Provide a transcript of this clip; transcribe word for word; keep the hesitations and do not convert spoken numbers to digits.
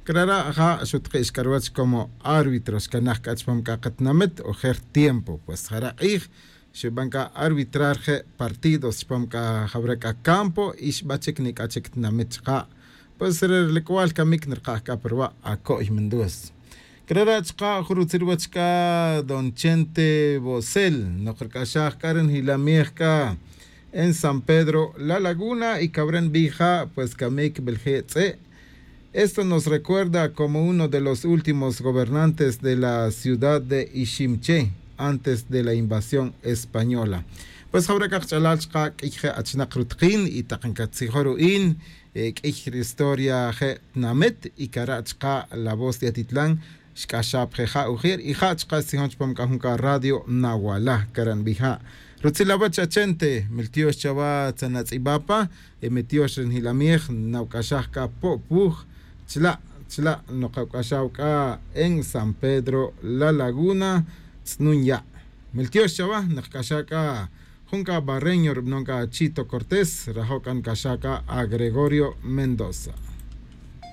Crara' ja' xutikix c'a ruwach como árbitro xcanaj c'a chupam c'a katinamit ojer tiempo pues jara' k'ij xuban c'a arbitrar je' partidos chupam c'a jawra c'a campo y xbachic nic'a chic tinamit chaka'. Pues re ri cubal camic nirkaj c'a pa ruwa' aco'y mindus. Crara' chaka' jun rutzil ruwach c'a don chente bosel. Nok ric'axaj c'a ri njilamij c'a en san pedro la laguna y cawra nbij ja' pues camic belje' tz'e'. Esto nos recuerda como uno de los últimos gobernantes de la ciudad de iximche antes de la invasión española. Pues jawra c'a kach'alal chaka' q'uiy je' achinak rutakin y tak ncatzijo' ru'in q'uiy ri historia je' tinamit y cara' chaka' la voz de atitlan xc'axaj pa je' ja' ujer y ja' chaka' xtzijon chupam c'a jun c'a radio nawala cara' nbij ja'. Rutzil awach achente miltiox chawa tzanatz'ibapa. Mitiox ri njilamij nawc'axaj c'a po'puj chila' chila' nokawc'axaw c'a en san pedro la laguna. Tz'nun ya' miltiox chawa nokc'axaj c'a jun c'a barreño rubanon c'a chito cortés rajo' c'a nc'axaj c'a agregorio mendoza.